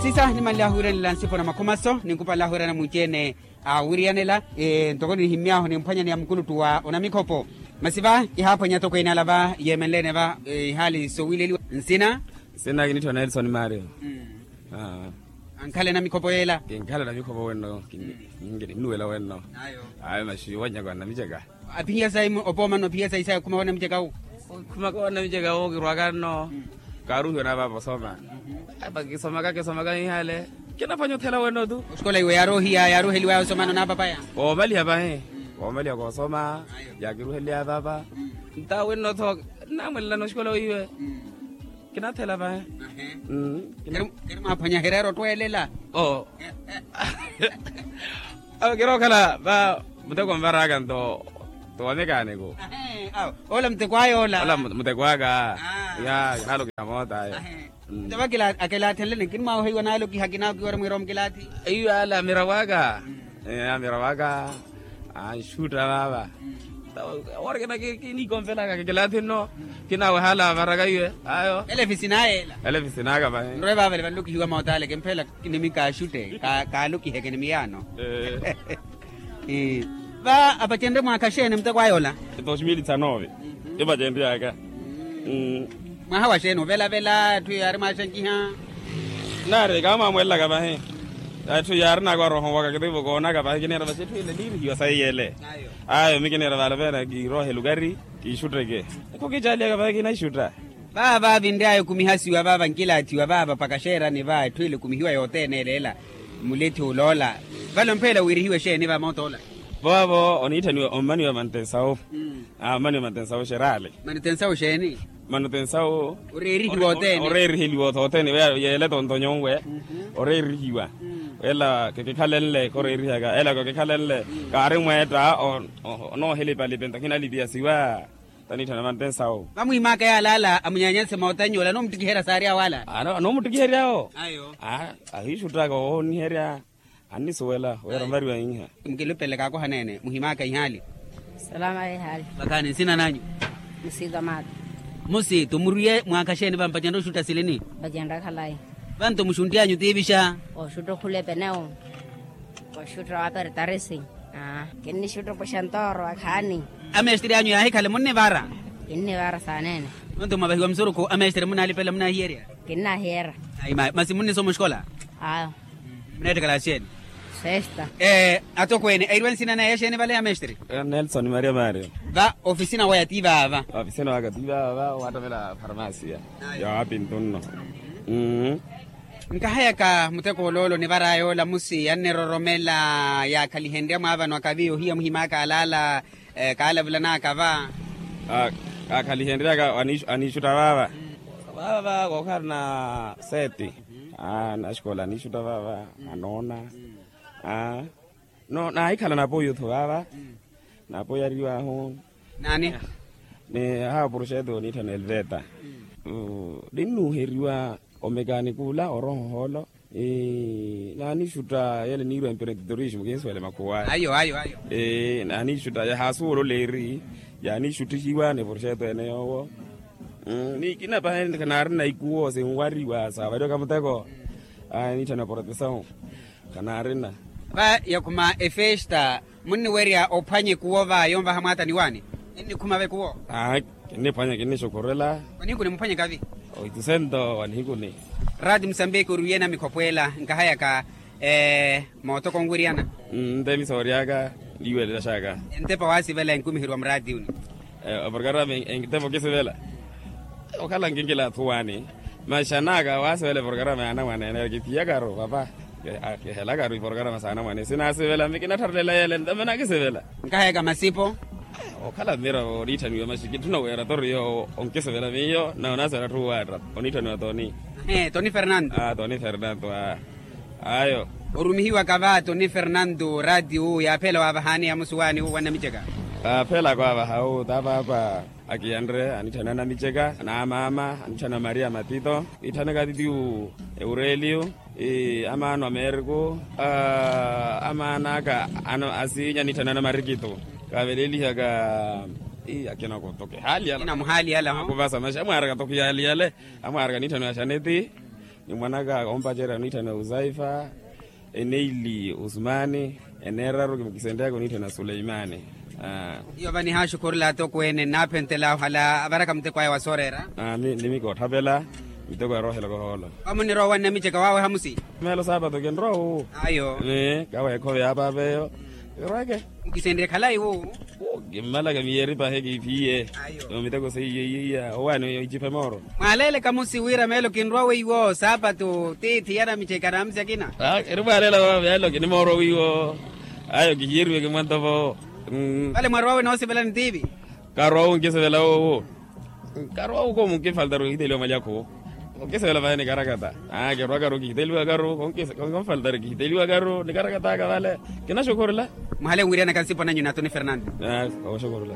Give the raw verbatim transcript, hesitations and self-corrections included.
Sisa nimanle ahuwiranela nsipo na makhumaso ninkupale ahuwirana mwici-ene awiriyanela. Ntoko ninihimy'ahu nimphwanyani ya mukuluttu wa onamikhopo. Masi va kihaaphwanya atokweene ala va yeemenle-ene va ihaali sowiileliwa nsina. Nsina kinitthwa nelson mario. Ankhala enamikhopo yeela. Kinkhala enamikhopo wenno. Kinnuwela wenno. Ayo masi wanyaka wanamiceka. Aphiya sayi opo manno aphiya sayi sayi okhumaka wanamiceka wu. Okhumaka wanamiceka wu kirwaka nno. Kaaruhiwa naapapa osoma. Apa kisomaka kisomaka ihale. Kinaphwanya othela wenno tu. Oxikola iwe yaarohiya yaaruheliwaya osomano naapapaya. Koomaliha pahi. Koomaliha koosoma. Yaakiruheliya paapa. Nta wenno tho nnamwelelana oxikola weiwe. Kinathela vahe. Kiri mwaaphwanya hereera ottweelela. Oo. Awo kiri okhala va muteko nvaraka nto. Towamekaaniku. Awo ola muteko aya ola. Ola muteko aka. Ya kinaalokiha moota ayo. Nto va akelaathenleni kiri mwaawoheiwa naalokiha kinawokiwa ori mwiira omukilaathi. Iyo ala mirawo aka. Mirawo aka. Anxutta vaava. Wari kina kiniikonvelaka kikilaathi nno. Kinaawehala varaka iwe ayo. Elefisi naye ela. Elefisi naka vahi. Nrowe vaavale vanlokihiwa mootale kimphela. Kinimikaaxutte. Kaalokihe kinimiyaano. Va apacenrye mwaakha xeeni muteko aya ola? Dos mil dixanove. Epacenrye aka. Mwaha wa xeeni ovelavela etthu yaari mwaaxankiha? Naari kaamwamwelelaka vahi. Etthu yaari naakwa roho waka kitivo koonaka vahi kineera vasi etthu ile niirihiwa sayi yele. Ayo mi kineera vaala veena kiiroohe lukari. Kiixutteke. Ekho kiicaliyaka vahi kinaixutta. Vaava vinry'aya okumihasiwa vaava nkilaathiwa vaava mpakha xeerani va etthu ile ekumihiwa yothene ele ela. Mulethi oloola. Vale omphela wiirihiwe xeeni va moota ola? Vaavo oniitthaniwa ommaniwa mantensawu. Ommaniwa mantensawu xeraali. Mantensawu xeeni? Mantensawu. Oreerihiwa othene. Oreeriheliwa othene yeele tontonyo nwe. Oreerihiwa. Ela kekikhalenle koreerihaka ela kekikhalenle. Kaari mweetta. Onoohelipalipe nto khinalipiyasiwa. Taniitthana mantensawu. Vamwiimaaka yaala ala amunyaanyase moota nyoola anoomuttikiherya saari awo ala. Anoomuttikihery'awo. Ahiixuttaka ooniherya. Annisuwela wira omariwa iha. Mukilupelele kaakohaneene muhimaaka ihaali. Salama ihaali. Vakhaani nsina nanyu? Musiito maata. Musiito muriye mwaakha xeeni vampacenrya oxutta silini? Mpacenrya khalayi. Vanto muxuntti anyu tiivixa? Oxutta okhula epenewu. Oxutta wapertarisi. Kinnixutta opuxa ntooro akhaani. Amesteri anyu yaahikhala munnivara? Kinnivara saaneene. Nonto mwavahiwa musurukhu amesteri munnalipela munnahiyerya? Kinnahiyerya. Masi munnisoma oxikola? Ayo. Muneettekela xeeni? Sesta. Atokweene airwe nsina naya xeeni vale ya mestre? Nelson maria mario. Va ofisina waya ti vaava? Ofisina waka ti vaava waattamela farmasia. Ya wapintu nno. Nkahayaka muteko oloolo nivaraya ola musi anniroromela yaakhalihenrya mwaavanwaka vi ohiya muhimaaka alaala. Kaalavulanaka va. Kaakhalihenryaka aniixutta vaava. Vaava va kookhala na seti. Naxikola aniixutta vaava. Anoona. No naahikhala napoyutho vaava. Napoyariwahu. Naani? Ni aha oproxeto oniitthana elveta. Ninnuuheriwa omekanikula oroho holo. Naanixutta yele niirwa emprenditorismo kihinsuwele makhuwaya. Ayo ayo ayo. Naanixutta yahaasuwolola eri yaanixuttihiwa ni proxeto ene yoowo. Ni kinapahe khanaarina ikuwo sinwariwa saavariwaka muteko. Aniitthana protesawu. Khanaarina. Va yakhuma efesta munniwerya ophwanya ekuwo va yonvaha mwaata ni waani? Ninnikhuma va ekuwo. Kinniphwanya kinnixukhurela. Wanihikuni muphwanyaka vi? Oitusento wanihikuni. Raati musambiki oriwiye namikhopweela nkahayaka. Mootoko onwiryana. Nte misoori aka. Niiwelela xaka. Entepa waasivela enkumiheriwa muraatiyuni? Eprokarama entepa okisivela. Okhala nkinkilaathuwani. Maxanaka waasivela eprokarama ya anamwane ene kiphiyakaru papa. Kihelakaru iprokarama sa anamwane sinaasivela mi kinattharulela yele ntame nakisivela. Nkahayaka masipo. Okhala mira oniitthaniwa maxi kitthuna wira toriyo onkisivela miyo na onaasivela atthu waatta. Oniitthaniwa toni. Toni fernando. Toni fernando. Ayo. Orumihiwaka va toni fernando raatiwu yaaphela waavahani amusuwaani wu wanamiceka? Aaphelaka waavaha wu taapakwa. Akiyanre aniitthana anamiceka na amaama aniitthana maria matito. Iitthana kaatitiwu eureliyo. Amaano ameriko. Amaan'aka asiinye aniitthana anamarikito. Kaavelelihaka. Akina kotoke hali yala. Akuvasa maxi amwaaraka toke hali yale. Amwaaraka aniitthana axaneti. Ni mwanaka ompacerya oniitthana uzaifa, eneili usumani, eneeraru kisenryaka oniitthana suleimani. Iyo va nihaaxukhurela atokweene nnaaphentela ohala avaraka muteko aya wa sooreera. Ni mikootthapela miteko ya roohela kohoolo. Vamo nirwa owanna miceka wawe hamusi. Meelo saapatu kinrowa wu. Ayo. Kaweekhove yaapaapeyo. Irweke. Mukisenrye khalayi wu. Kimmalaka miyeeri pahe kiiphiye. Miteko seiye iya owaani iciphe mooro. Mwaaleleka musi wira meelo kinrowa weiwo saapatu tiithi yana miceka na musi akina. Eri mwaalela meelo kini mooro weiwo. Ayo kihiyeriwe kimwantovo. Vale mwarwawe noosivela ni tiivi. Karwa wu nkisivela wowo. Karwa wu ko munkifaltari kihiteliwa mwalyakhu. Nkisivela vahe nikarakata. Kirwakaru kihiteliwakaru. Konfaltari kihiteliwakaru nikarakataka vale. Kinaxukhurela. Muhale nwiryanaka nsipo nanyu natoni fernando. Oxukhurela.